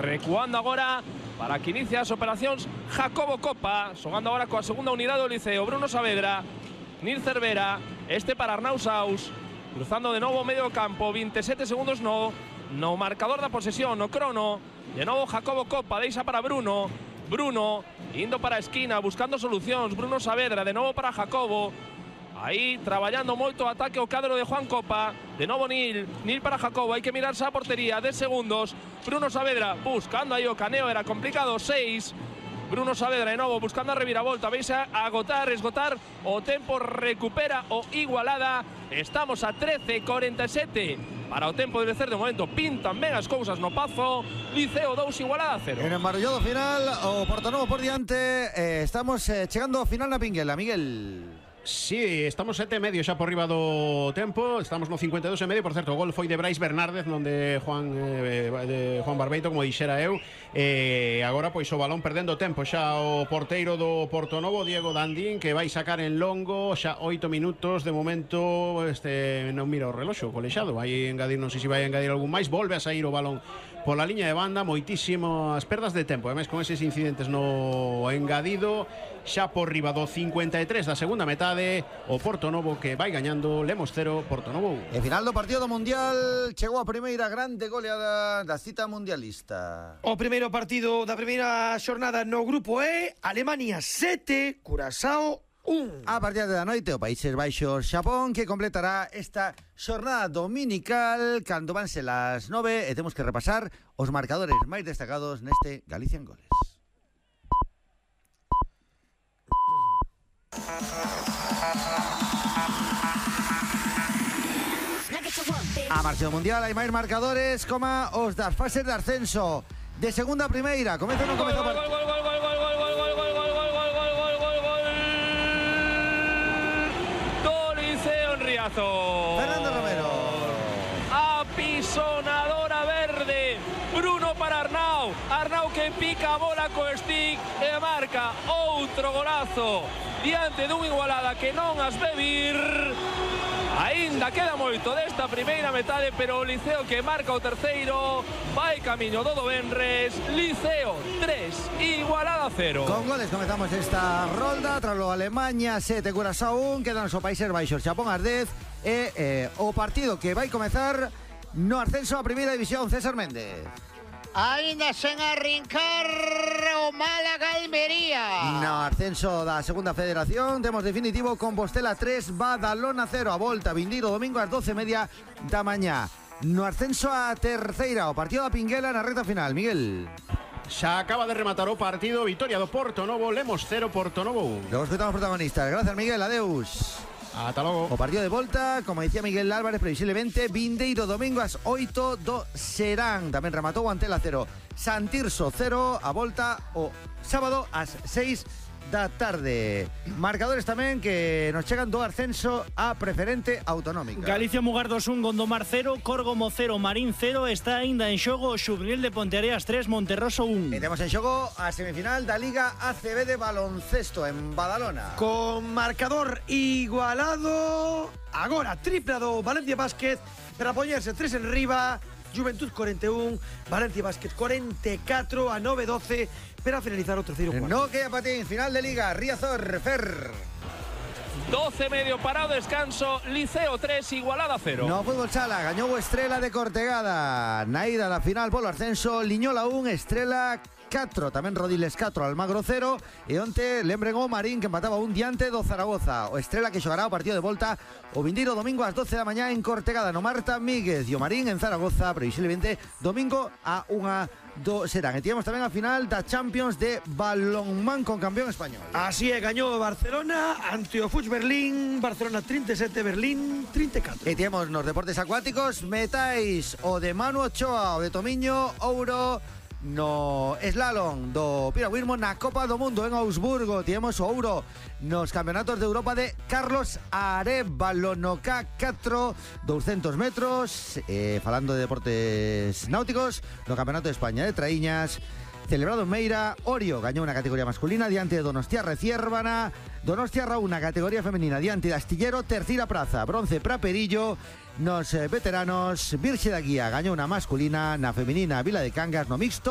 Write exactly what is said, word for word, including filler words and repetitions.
recuando agora para que inicie as operacións Jacobo Copa, xogando agora coa segunda unidade do Liceo. Bruno Saavedra, Nil Cervera, este para Arnau Saus, cruzando de novo o medio campo, veintisiete segundos no, no marcador da posesión, no crono. De novo Jacobo Copa, deixa para Bruno, Bruno, indo para a esquina, buscando solucións, Bruno Saavedra, de novo para Jacobo. Aí, traballando moito o ataque o cadro de Juan Copa. De novo Nil, Nil para Jacobo, hai que mirarse a portería, dez segundos. Bruno Saavedra, buscando aí o caneo, era complicado, seis. Bruno Saavedra de novo, buscando a reviravolta, veis a agotar, esgotar o tempo, recupera o Igualada. Estamos a trece cuarenta e sete para o tempo de lecer. De momento pintan ben as cousas no Pazo. Liceo dous, Igualada cero. En embarallado final, o Portonovo por diante. eh, Estamos eh, chegando ao final na Pinguela, Miguel. Sí, estamos sete e medio xa por riba do tempo. Estamos no cincuenta e dous e medio. Por certo, o gol foi de Brais Bernárdez, non de Juan eh, de Juan Barbeito, como dixera eu. E eh, agora pois o balón perdendo tempo xa o porteiro do Portonovo, Diego Dandín, que vai sacar en longo xa oito minutos de momento. Este non mira o reloxo, colexado. Vai engadir, non sei se vai engadir algún máis. Volve a sair o balón pola liña de banda, moitísimas perdas de tempo. Ademais, con eses incidentes no engadido, xa por riba do cincuenta e tres da segunda metade, o Portonovo que vai gañando. Lemos cero, Portonovo un. E final do partido do Mundial, chegou a primeira grande goleada da cita mundialista. O primeiro partido da primeira xornada no grupo E, Alemania sete, Curazao un. A partir da noite, o Países Baixos Xapón, que completará esta xornada dominical cando vanse las nove, e temos que repasar os marcadores máis destacados neste Galicia en Goles. A marcha do Mundial hai máis marcadores como os das fases de ascenso de segunda a primeira. Comeza ou non comeza o partido? Fernando Romero. Apisonadora verde. Bruno para Arnau. Arnau que pica a bola co stick e marca outro golazo diante dun Igualada que non as ve vir. Ainda queda moito desta primeira metade, pero o Liceo que marca o terceiro vai camiño do venres. Liceo tres, Igualada cero. Con goles comezamos esta rolda. Tralo Alemanha sete, Curazao un. Quedan os Países Baixos Xapón as dez. E eh, o partido que vai comezar no ascenso a primeira división. César Méndez. Ainda sen arrincar o Málaga Almería. No ascenso da segunda federación temos definitivo Compostela tres, Badalona cero. A volta vindeiro domingo ás doce e media da mañá. No ascenso a terceira, o partido da Pinguela na recta final, Miguel. Xa acaba de rematar o partido, vitoria do Portonovo, Lemos cero, Portonovo un. Logo escoitamos protagonistas. Gracias, Miguel, adeus. Ata logo. O partido de volta, como dicía Miguel Álvarez, previsiblemente vindeiro domingo ás oito do Serán. Tamén rematou o Antela cero, Santirso cero. A volta o sábado ás seis da tarde. Marcadores tamén que nos chegan do ascenso a preferente autonómica. Galicia Mugardos un, Gondomar cero, Córgomo cero, Marín cero. Está aínda en xogo o Xuvenil de Ponteareas tres, Monterroso un. E temos en xogo a semifinal da Liga A C B de baloncesto en Badalona. Con marcador igualado. Agora tripla do Valencia Basket para poñerse tres en riba. Juventud cuarenta y uno, Valencia Basket cuarenta y cuatro a nove doce para finalizar o terceiro cuarto. No queda patín, final de Liga, Riazor, Fer. doce medio parado, descanso, Liceo tres, Igualada cero. No fútbol sala, gañou o Estrela de Cortegada. Na ida da final polo ascenso, Liñola un, Estrela catro, tamén Rodiles catro, Almagro cero. E onte lembren o Marín que empataba un diante do Zaragoza. O Estrela que xogará o partido de volta o vindeiro domingo ás doce da mañá en Cortegada no Marta Míguez. E o Marín en Zaragoza previsiblemente domingo a unha do Serán. E tivemos tamén a final da Champions de balonmán con campeón español. Así é, gañou Barcelona ante o Fuch Berlín. Barcelona treinta e sete, Berlín treinta e catro. E tivemos nos deportes acuáticos metais o de Manu Ochoa, o de Tomiño, ouro no slalom do piragüismo na Copa do Mundo en Augsburgo. Tivemos o ouro nos campeonatos de Europa de Carlos Arévalo no K catro, doscientos metros. eh, Falando de deportes náuticos, no Campeonato de España de Traíñas celebrado en Meira, Orio gañou unha categoría masculina diante de Donostiarra e Ciérvana. Donostiarra unha categoría femenina diante de Astillero, terceira praza, bronce para Perillo. Nos eh, veteranos, Virxe da Guía gañou unha masculina, na femenina Vila de Cangas no mixto